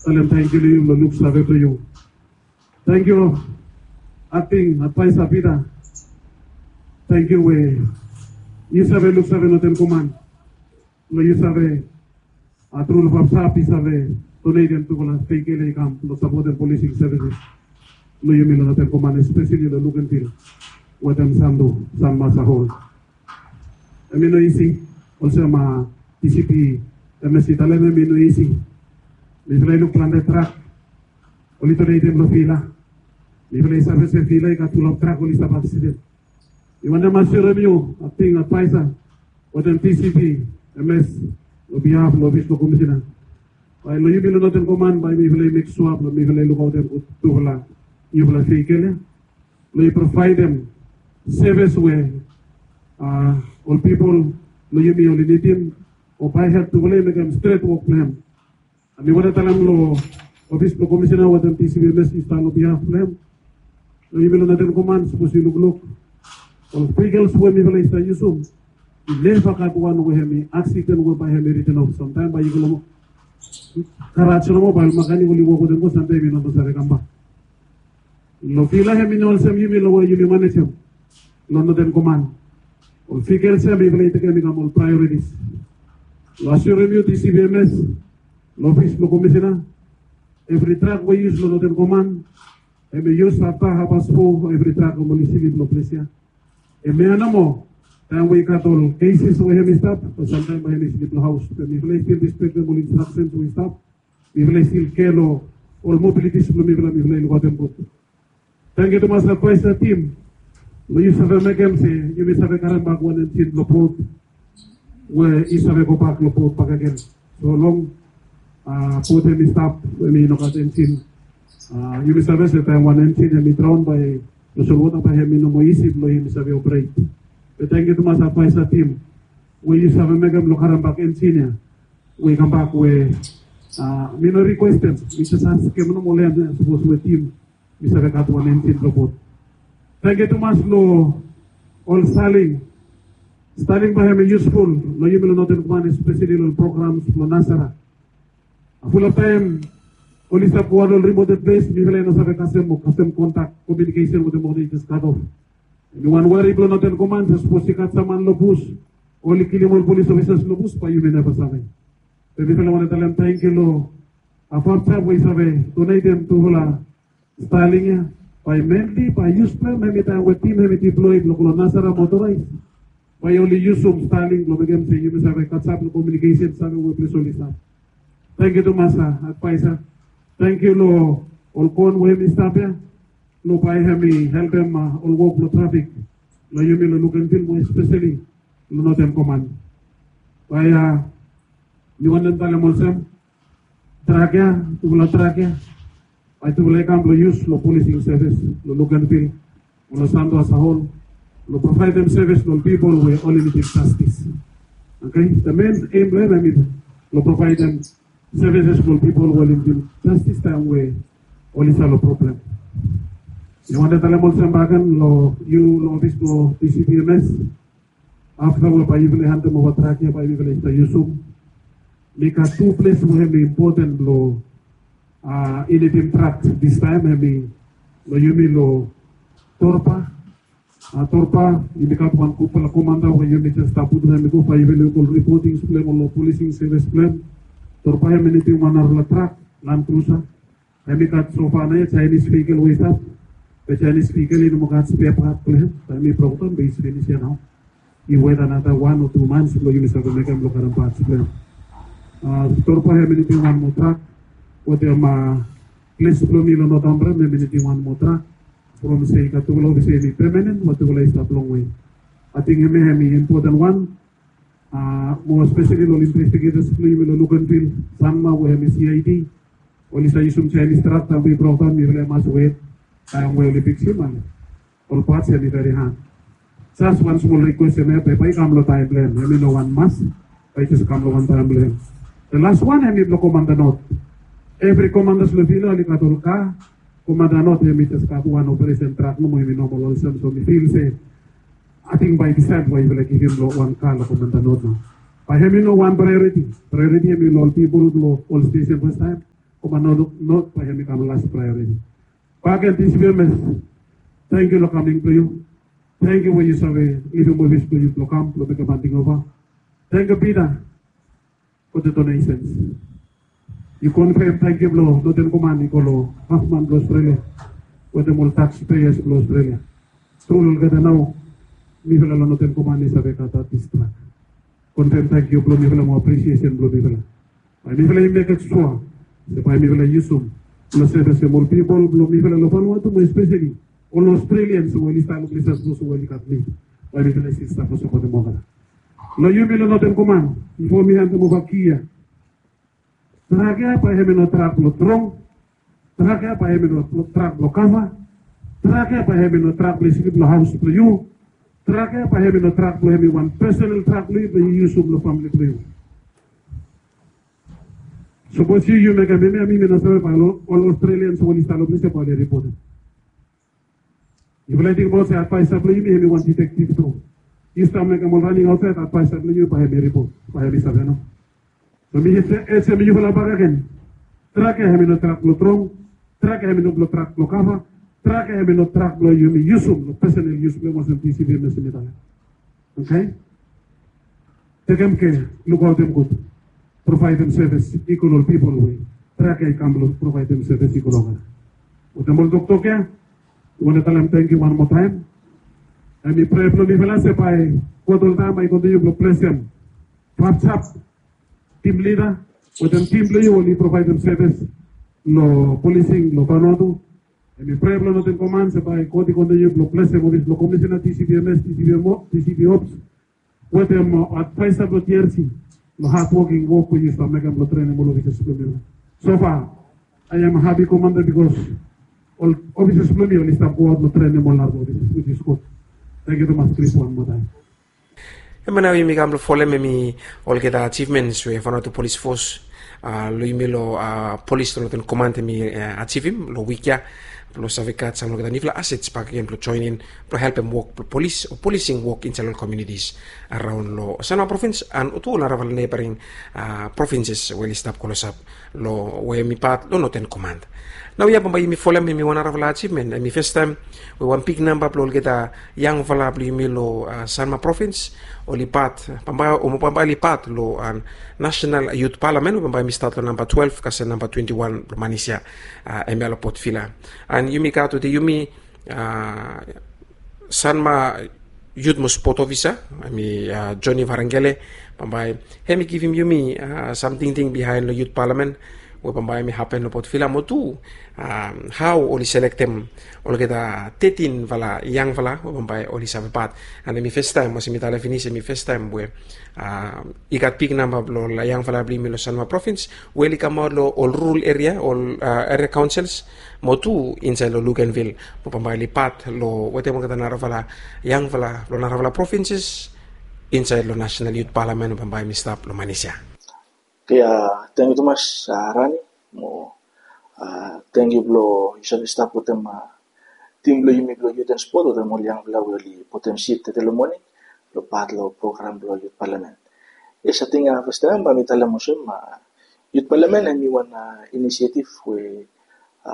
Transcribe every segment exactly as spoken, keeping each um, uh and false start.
talem tangkiu long yu, long luksave blong yu. Tangkiu, Akting Advaesa Pita. Tangkiu we yu save luksave Northern Command. Long yu save, a, tru long Fafsap i save donetem tufala veikol i kam long sapotem polising sevises long yumi long Northern Command, espeseli long Luganville wetem Sandu, Sanma, Sahol. Hemi no isi, olsem, a, DCP Emes i talem, hemi no isi. Mifala i luk plante trak oli donetem long Vila. Mifala i save se Vila i gat fulap trak oli stap aksiden. Mi wantem asure yu, Akting Advaesa, wetem DCP Emes, long bihaf long ofis blong Komisena, bae long yumi long Northern Command bae mifala i mek sua blong mifala i lukaotem gud tufala yufala veikol ya, blong i provaedem sevis we, a, ol pipol blong yumi oli nidim, o bae help tufala i mekem stret wok blong hem. Mi wantem talem long ofis blong Komisena wetem DCP Emes i stap long bihaf blong hem, long yumi long Northern Command, sapos yu lukluk ol veikol we mifala i stap yusum, i neva gat wan we hemi aksiden we bae hemi riten of. Samtaem bae yu go long garaj nomo, bae ol makanik oli wok wetem go, samtaem i no save kambak. Long Vila hemi no olsem yumi long we yumi manejem long Northern Command. Ol veikol ya mifala i tekem i kam ol praeoritis. Long asure yu, DCP Emes, long ofis blong Komisena, evri trak we i yus long Northern Command, hemi yus afta hafpas fo, evri trak hemi oli slip long ples ya. Hemia nomo, taem we i gat ol keses we hemi stap, o samtaem bae hemi slip long haos. Be mifala i stil respektem ol instraksens we i stap. Mifala i stil kea long ol mobilitis blong mifala, mifala i lukaotem gud. Tangkiu tumas Advaesa tim, we yu save mekem se yumi save karem bak wan enjin blong bot we i save gobak long bot bakegen. So long, a, bot hemi stap, hemi no gat enjin, a, yumi save se taem wan enjin hemi draon bae long solwota, bae hemi no moa isi blong yumi save operet. Be tangkiu tumas Advaesa tim we yu save mekem long karem bak enjin ya we i kambak we, a, mi no rikwestem, mi jes askem nomo long hem, sapos we tim i save gat wan enjin blong bot. Tangkiu tumas long ol Starlink. Starlink bae hemi yusful long yumi long Northern Command, espeseli long programs blong nasara. A, fulap taem oli stap go wan ol rimoted ples, mifala i no save kasem, o kasem kontak, komiunikesen wetem oli jes kat of. Hemi wan wari blong Northern Command, sapos i gat sam man long bus, oli kilim ol polis ofisas long bus, bae yumi neva save. Be mifala wantem talem tangkiu long, a, Fafsap we i save donetem tufala Starlink ya. Bae mainly bae yus blong hem hemi taem we tim hemi deploy blong go long nasara motoraes, bae oli yusum Starlink blong mekem se yumi save kasem long komiunikesen, save we ples oli stap. Tangkiu tumas, a, Advaesa. Tangkiu long ol kon we hemi stap ya, long bae hemi helpem, a, ol wok blong trafik long yumi long Luganville, mo espeseli long Northern Command. Bae, a, mi wantem talem olsem, trak ya, tufala trak ya, bae tufala i kam blong yus long polising sevis long Luganville, long Sandu, Sahol, long provaedem sevis long pipol we oli nidim jastis. Oke, the main aim blong hem hemi long provaedem sevises blong pipol we oli nidim jastis taem we oli stap long problem. Mi wantem talem olsem bakegen long yu, long ofis blong DCP Emes, afta we bae yufala i handem ova trak ya bae yufala i stap yusum, mi gat tu ples we hemi impoten blong, a, initim trak distaem, hemi long yumi long Torpa. A, Torpa, yumi gat wan gudfala komanda we yumi jes stap putum hem i go bae yufala i go long ripotings blong hem o long polising sevis blong hem. Torpa hemi nidim wan narafala trak, Land Cruiser. Hemi gat sofa naoia Jaenis vehikel we i stap. Be Jaenis vehikel i no moa gat spea pat blong hem. Taem i brokdaon be i finis ia nao. I wet another one o tu mans blong yumi save mekem blong karem pats blong hem. A, Torpa hemi nidim wan moa trak. Wetem, a, ples blong mi long North Ambrym, hemi nidim wan moa trak. From se i gat tufala ofisa hemi pemanen, mo tufala i stap longwe. Ating hemia hemi impoten wan. A, mo espeseli long ol investigators blong yumi long Luganville, Sanma, we hemi CID. Oli stap yusum Jaenis trak taem we i brokdaon, mifala i mas wet taem we oli fiksim, a, ol pats hemi veri had. Jes wan smol rikwes, hemia pepa i kam long taem blong hem, hemi no wan mas, bae i jes kam long wan taem blong hem. The last wan hemi blong Komanda North. Evri komandas long Vila oli gat ol ka. Komanda North hemi jes gat wan operesen trak nomo, hemi nomol olsem. So mi fil se ating bae i disaed we yufala givim long wan ka long Komanda North nao. Bae hemi no wan praeoriti. Praeoriti hemi long ol pipol blong ol stesen fastaem. Koman not, not bae hemi kam las praeoriti. Bakegen TCPMS, tangkiu long kaming blong yu. Tangkiu we yu save givim ofis blong yu blong kam blong mekem handing ova. Tangkiu Pita, for the donations. Yu konfem tangkiu blong Northern Command i go long gavman blong Australia wetem ol taxpayers blong Australia. Tru olgeta nao mifala long Northern Command i save gat atis trak. Konfem tangkiu blong mifala mo apresiesen blong mifala. Bae mifala i mekem sua se bae mifala i yusum blong sevisem ol pipol blong mifala long Vanuatu mo espeseli ol Australians we oli stap long ples sapos we oli gat nid. Bae mifala i stil stap long sapotem olgeta. Long yumi long Northern Command, bifo mi handem ova ki ya, trak ya bae hemi no trak blong trong. Trak ya bae hemi no trak blong kava. Trak ya bae hemi no trak blong slip long haos blong yu. Trak ya bae hemi no trak blong hemi wan pesonal trak blong yu blong yu yusum long famili blong yu. Sapos yu yu mekem hemia, mi mi no save bae ol Australians we oli stap long ples ya bae oli ripotem. Yufala i tingbaot se advaesa blong yumi hemi wan detektiv tru. Yu stap mekem ol raning aotsaed, advaesa blong yu bae hemi ripot, bae hemi save nao. So mi jes ejek yufala bakegen. Trak ya hemi no trak blong trong. Trak ya hemi no blong trak blong kava. Trak ya hemi no trak blong yumi yusum long pesonal yus blong yumi olsem TCPMS hemi talem. Oke? Tekem kea, lukaotem gud. Provaedem sevis i go long ol pipol we trak ya i kam blong provaedem sevis i go long olgeta. Wetem ol toktok ya, mi wantem talem tangkiu wan moa taem. Hemi prea blong mifala se bae God oltaem bae i kontiniu blong blesem Papsap, tim lida wetem tim blong yu oli provaedem sevis long polising long Vanuatu. Hemi prea blong Northern Command se bae God i kontiniu blong blesem ofis blong komisena, TCPMS, TCPMO, TCP Ops wetem advaesa blong TRC long hadwoking wok we yu stap mekem blong trenem ol ofisas blong yu. So far, I am a happy commander because ol ofisas blong mi oli stap goaot long trenem ol narafala ofisas, which is good. Tangkiu tumas, Chris, wan moa taem. Hemia nao yumi kam blong folem hemi olgeta ajivmens we Vanuatu Polis Fos, a, long yumi long, a, polis long Northern Command hemi, a, ajivim long wik ya blong save gat sam long olgeta niufala asets bakegen blong joenem blong helpem wok blong polis o polising wok insaed long ol komunitis araon long Sanma provins and tu ol narafala neighbouring, a, provinces we oli stap klosap long we hemi pat long Northern Command. Naoia bambae yumi folem hemi wan narafala ajivmen, hemi fastaem we wan big namba blong olgeta yangfala blong yumi long, a, Sanma provins oli pat, bambae, o mo bambae oli pat long, a, National Youth Parliament we bambae hemi stat long namba twelve kasem namba twenty-one blong manis ya, a, hemia long Port Vila. And yumi gat wetem yumi, a, Sanma Youth mo Sport Officer, hemi, a, Johnny Varengele, bambae hemi givim yumi, a, sam tingting bihaen long Youth Parliament we bambae hemi hapen long Port Vila mo tu, a, hao oli selektem olgeta tetinfala yangfala we bambae oli save pat. And hemi fastaem, olsem mi talem finis, hemi fastaem we, a, i gat big namba blong ol yangfala blong yumi long Sanma provins we oli kamaot long ol rural eria, ol, a, eria kaonsils mo tu insaed long Luganville mo bambae oli pat long wetem olgeta narafala yangfala blong narafala provinses insaed long National Youth Parliament we bambae hemi stap long manis ya. Oke, a, tangkiu tumas, a, Rani, mo, a, tangkiu blong yu save stap wetem, a, tim blong yumi blong Youth and Sport wetem ol yangfala we oli putum sip tede long moning long pat long program blong Youth Parliament. Yes, ating, a, fastaem bae mi talem olsem, a, Youth Parliament hemi wan, a, inisiatif we, a,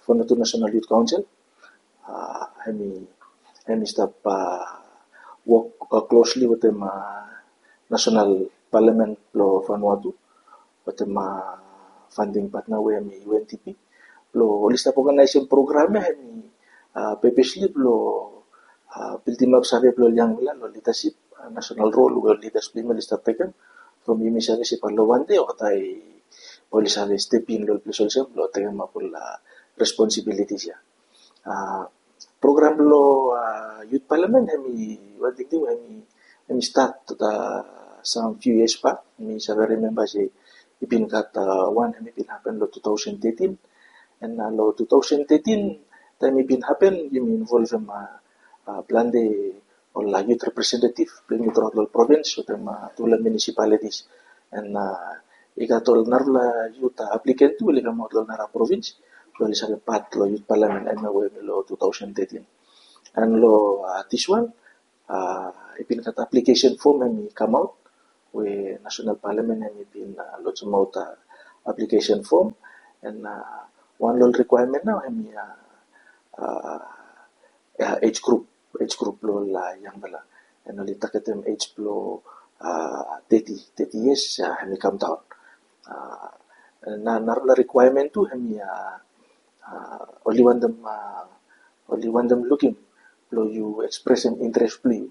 Vanuatu National Youth Council, a, hemi, hemi stap, a, wok, a, klosli wetem, a, National Parliament blong Vanuatu wetem, a, funding partner we hemi UNDP blong oli stap oganaesem program ya hemi, a, pepesli blong, a, bildimap save blong ol yangfala long lidasip, a, national role we ol lidas blong yumi oli stap tekem from yumi save se bae long wan dei olgeta bae oli save step in long ol ples olsem blong tekemap ol, a, responsibilities ya. A, program blong, a, Youth Parliament hemi wan tingting we hemi, hemi stat, a, sam few years back. Mi save rimemba se i bin gat, a, wan hemi bin hapen long two thousand thirteen. And, a, long two thousand thirteen taem i bin hapen yumi involvem, a, a, plante ol, a, youth representative blong yumi throughout long ol provins wetem, a, tufala municipalities. And, a, i gat ol narafala youth, a, applicant tu we oli kamaot long ol narafala provins blong oli save pat long Youth Parliament hemia we hemi long two thousand thirteen. And long, a, diswan, a, i bin gat application form hemi kamaot we National Parliament hemi bin, a, lojemaot, a, application form. And wan long ol requirement nao hemi age group, age group blong ol yangfala. And oli targetem age blong thirty, thirty years hemi kam daon. Na narafala requirement tu hemi oli wantem, oli wantem lukim blong yu ekspresem interes blong yu.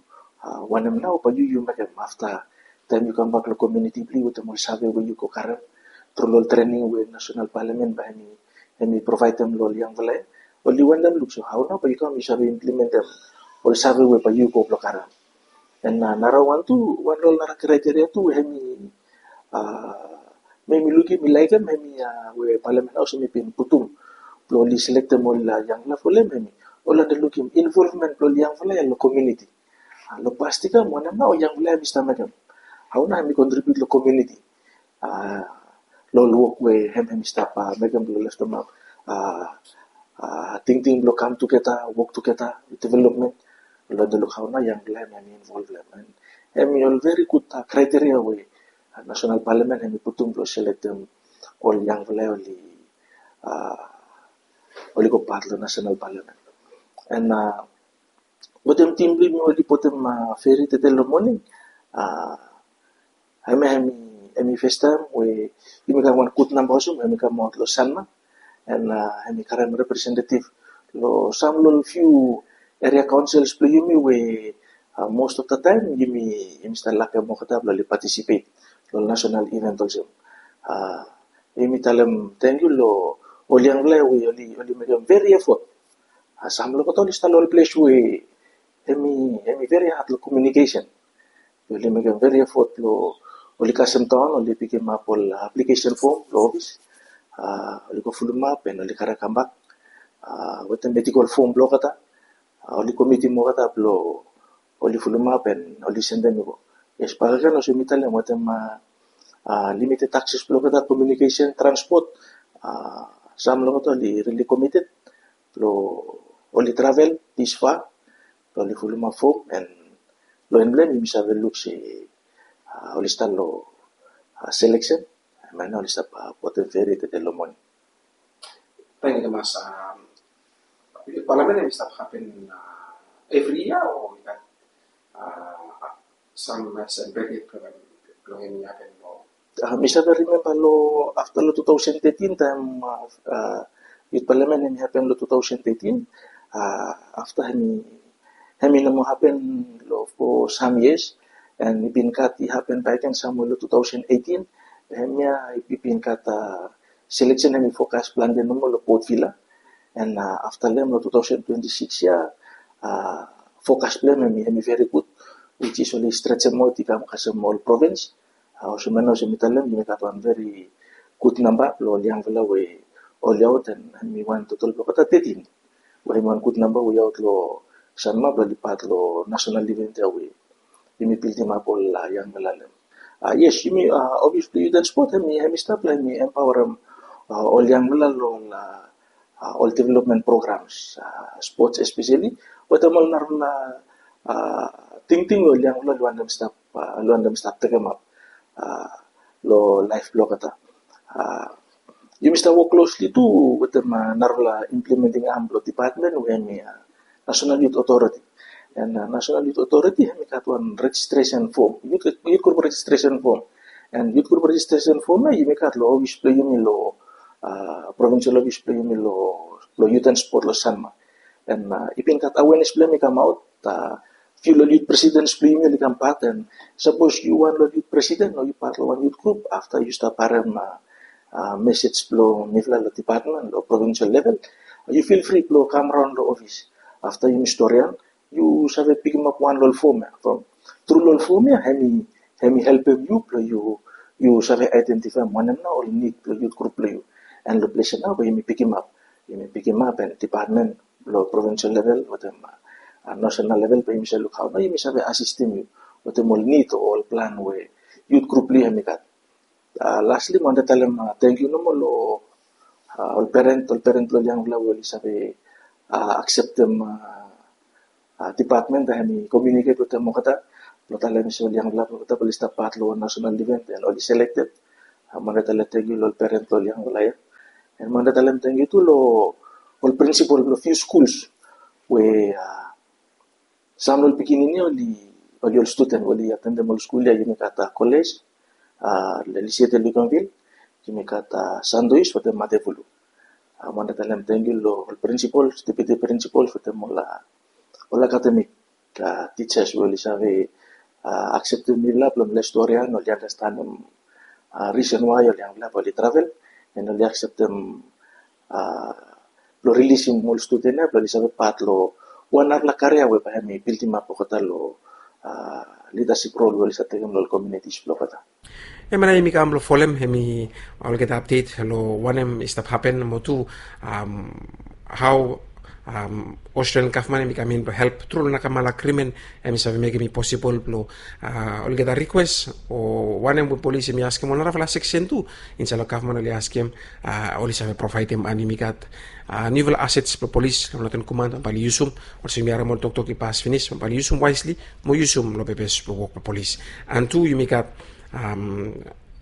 Wanem nao bae yu yu mekem afta taem yu kambak long komuniti blong yu wetem ol save we yu go karem tru long ol trening we nasenal palamen bae hemi provaedem long ol yangfala ya. Oli wantem luk so hao nao bae yu kam yu save implementem ol save we bae yu go blong karem. And nara wan tu, wan long ol nara kraiteria tu we hemi, mi lukim, mi laekem hemi we palamen haos hemi bin putum blong oli selektem ol yangfala folem hemi oli wantem lukim involvement blong ol yangfala ya long komuniti. Long past i kam wanem nao ol yangfala hemi stap mekem, hao nao hemi kontribiut long komuniti long ol wok we hem hemi stap mekem blong leftemap tingting blong kam tugeta, wok tugeta, development. Oli wantem luk hao nao yangfala hem hemi involvem. And hemi ol veri gud kraiteria we nasenal palamen hemi putum blong selektem ol yangfala oli, oli go pat long nasenal palamen. And wetem tim blong yumi oli putum feri tede long moning, hemia hemi, hemi festaem we yumi gat wan gud namba olsem hemi kamaot long Sanma. And hemi karem representetiv long sam long ol fiu eria kaonsels blong yumi we most of the time yumi, yumi stap lakem olgeta blong oli patisipet long nasenal iven olsem. Yumi talem tangkiu long ol yangfala we oli, oli mekem veri efot. Sam long olgeta oli stap long ol ples we hemi, hemi veri had long komiunikesen. Oli mekem veri efot blong oli kasem daon, oli pikimap ol aplikesen fom long ofis. Oli go fulumap and oli karem kambak wetem medikol fom blong olgeta. Oli komitim olgeta blong oli fulumap and oli sendem i go. Yes, bakegen olsem mi talem wetem limited akses blong olgeta, komiunikesen, transpot, sam long olgeta oli rili komited blong oli travel this far blong oli fulumap fom. And long en blong hem yumi save luk se oli stap long seleksen. Hemia nao oli stap putum feri tede long moning. Tangkiu tumas. Yut palamen hemi stap hapen evri yia o i gat sam, sam period blong hemi hapen long? Mi save rimemba long afta long two thousand thirteen taem yut palamen hemi hapen long two thousand thirteen. Afta hemi, hemi no moa hapen long fo sam yias. And i bin gat, i hapen bakegen samwe long two thousand eighteen. Hemia i bin gat seleksen hemi fokas plante nomo long Port Vila. And afta long hem long two thousand twenty-six ya, fokas blong hem hemi, hemi veri gud, which is oli stretchem aot i kam kasem ol provins. Olsem nao olsem mi talem, yumi gat wan veri gud namba blong ol yangfala we oli aot, and hemi wan totol blong olgeta thirteen. We hemi wan gud namba we i aot long Sanma blong oli pat long nasenal iven ya we yumi bildimap ol yangfala long hem. Yes, yumi, ofis blong yut and spot hemi, hemi stap long hemi empaorem ol yangfala long ol development programs, spots especially, wetem ol narafala tingting we ol yangfala oli wantem stap, oli wantem stap tekemap long laef blong olgeta. Yumi stap wok klosli tu wetem narafala implementing arm blong dipatmen we hemi National Youth Authority. And National Youth Authority hemi gat wan rejistresen fom, yut, yut grup rejistresen fom. And yut grup rejistresen fom ya yumi gat long ofis blong yumi long provinsel ofis blong yumi long, long yut and spot long Sanma. And i bin gat awenes blong hem i kamaot, fiu long ol yut presidens blong yumi oli kam pat, and sapos yu wan long ol yut presiden o yu pat long wan yut grup, afta yu stap harem mesej blong mifala long dipatmen long provinsel level, yu fil fri blong kam raon long ofis. Afta yumi storian, yu save pikimap wan long ol fom ya. From tru long ol fom ya hemi, hemi helpem yu blong yu, yu save aedentifaem wanem nao ol nid blong yut grup blong yu. And long ples ya nao bae yumi pikimap, yumi pikimap and dipatmen long provinsel level wetem nasenal level bae yumi save luk hao nao yumi save asistem yu wetem ol nid o ol plan we yut grup blong yu hemi gat. Lastly mi wantem talem tangkiu nomo long ol peren, ol peren blong ol yangfala we oli save akseptem dipatmen taem hemi komiuniket wetem olgeta blong talem se ol yangfala blong olgeta bae oli stap pat long wan nasenal iven and oli selekted. Mi wantem talem tangkiu long ol peren blong ol yangfala ya. And mi wantem talem tangkiu tu long ol prinsipol blong few schools we, uh, sam long ol pikinini oli, oli ol student we oli atendem ol skul ya, yumi gat, uh, college, uh, Lycée de Luganville, yumi gat, uh, Sandwich wetem Matevulu. Uh, mi wantem talem tangkiu long ol principals, deputy principals wetem ol, uh, ol academic, uh, teachers we oli save, uh, akseptem mifala blong mifala storian, oli andastanem, uh, reason why ol yangfala bae oli travel, and oli akseptem, uh, blong rilisim ol studen ya blong oli save pat long wan narafala karia we bae hemi bildimap olgeta long, uh, leadership role we oli save tekem long ol communities blong olgeta. Hemia nao yumi kam blong folem hemi olgeta update long wanem i stap hapen mo tu, um, hao, um, Australian gavman hemi kam in blong help tru long nakamala agrimen hemi save mekem i posibol blong, uh, olgeta rikwes o wanem we polis hemi askem o narafala seksen tu insaed long gavman oli askem, uh, oli save provaedem. And yumi gat, uh, niufala assets blong polis long Northern Command bae oli yusum, olsem yumi harem ol toktok i pas finis, bae oli yusum wisely mo yusum long pepes blong wok blong polis. And tu yumi gat, um,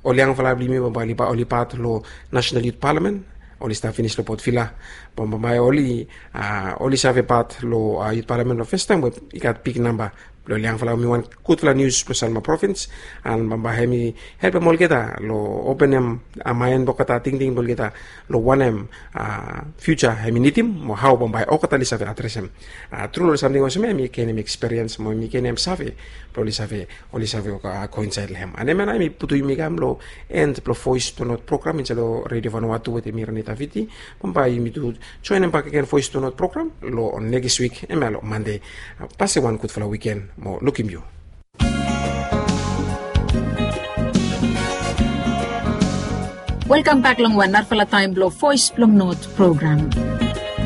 ol yangfala blong yumi bae oli, bae oli pat long National Youth Parliament, oli stap finis long Port Vila. Bae, bae oli, uh, oli save pat long, uh, Youth Parliament long fastaem we i gat big namba blong ol yangfala. Hemi wan gudfala nius blong Sanma Province, and bae, bae hemi helpem olgeta long openem, uh, maen blong olgeta, tingting blong olgeta long wanem, uh, future hemi nidim mo hao bae, bae olgeta oli save adresem. Uh, tru long samting olsem ya hemi genem experience mo hemi genem save blong oli save, oli save, uh, go insaed long hem. And hemia nao hemi putum yumi kam long end blong Voice to North program insaed long Radio Vanuatu wetem mi Ranita Viti. Bae, bae yumi tu joenem bakegen Voice to North program long nekis wik, hemia long Mande. Uh, pase wan gudfala wiken mo lukim yu. Welkam bak long wan narafala taem blong Voice blong North program.